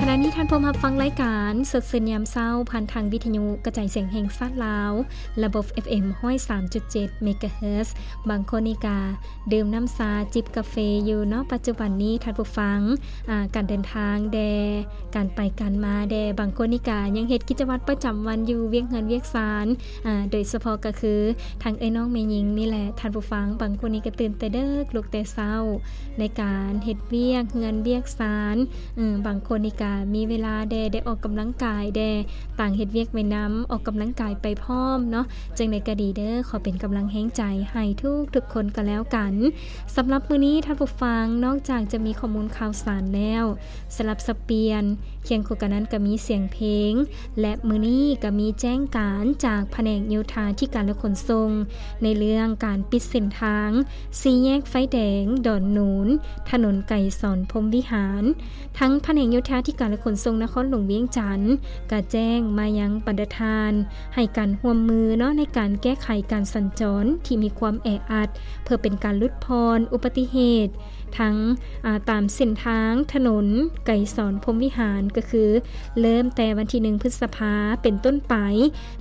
ຂະນະນີ້ທ່ານພວມຮັບຟັງລາຍການສົດຊື່ນຍາມເຊົ້າ ຜ່ານທາງວິທະຍຸກະຈາຍສຽງແຫ່ງຊາດລາວ ລະບົບ ເອັຟເອັມ ຮ້ອຍສາມຈຸດເຈັດ ເມກາເຮີດ. ບາງຄົນນີ້ກະດື່ມນ້ຳຊາ ຈິບກາເຟຢູ່ເນາະ. ປັດຈຸບັນນີ້ທ່ານຜູ້ຟັງ ອາ ການເດີນທາງແດ່ ການໄປການມາແດ່ ບາງຄົນນີ້ກະຍັງເຮັດກິດຈະວັດປະຈຳວັນຢູ່ ວຽກເຮືອນວຽກຊານ ອາ ໂດຍສະເພາະກະຄື ທາງເອື້ອຍນ້ອງແມ່ຍິງນີ້ແຫຼະທ່ານຜູ້ຟັງ. ບາງຄົນນີ້ກະຕື່ນແຕ່ເດິກ ລຸກແຕ່ເຊົ້າ ໃນການເຮັດວຽກເຮືອນວຽກຊານ. ອາ ບາງຄົນນີ້ກະມີເວລາແດ່ ໄດ້ອອກກຳລັງກາຍແດ່ ຕ່າງເຮັດວຽກໄປນຳ ອອກກຳລັງກາຍໄປພ້ອມເນາະ. ຈັ່ງໃດກະດີເດີ ຂໍເປັນກຳລັງແຮງໃຈໃຫ້ທຸກໆຄົນກະແລ້ວກັນ. ສຳລັບມື້ນີ້ທ່ານຜູ້ຟັງ ນອກຈາກຈະມີຂໍ້ມູນຂ່າວສານແລ້ວ ສະຫຼັບສັບປ່ຽນ ຄຽງຄູ່ກັນນັ້ນກະມີສຽງເພງ ແລະ ມື້ນີ້ກະມີແຈ້ງການຈາກພະແນກໂຍທາທິການ ແລະ ຂົນສົ່ງ ໃນເລື່ອງການປິດເສັ້ນທາງສີ່ແຍກໄຟແດງດອນໜູນ ຖະໜົນໄກສອນ ພົມວິຫານ. ທັງພະແນກໂຍທາທິການ ແລະ ຂົນສົ່ງນະຄອນຫຼວງວຽງຈັນ ກະແຈ້ງມາຍັງບັນດາທ່ານ ໃຫ້ການຮ່ວມມືເນາະ ໃນການແກ້ໄຂການສັນຈອນທີ່ມີຄວາມແອອັດ ເພື່ອເປັນການຫຼຸດຜ່ອນອຸບັດຕິເຫດ ທັງ ອາ ຕາມເສັ້ນທາງຖະໜົນໄກສອນ ພົມວິຫານ ກະຄືເລີ່ມແຕ່ວັນທີໜຶ່ງ ພຶດສະພາ ເປັນຕົ້ນໄປ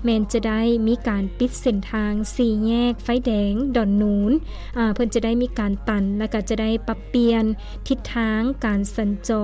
ແມ່ນຈະໄດ້ມີການປິດເສັ້ນທາງສີ່ແຍກໄຟແດງດອນໜູນ ອາ ເພິ່ນຈະໄດ້ມີການຕັນ ແລະ ກະຈະໄດ້ປັບປ່ຽນທິດທາງການສັນຈອນ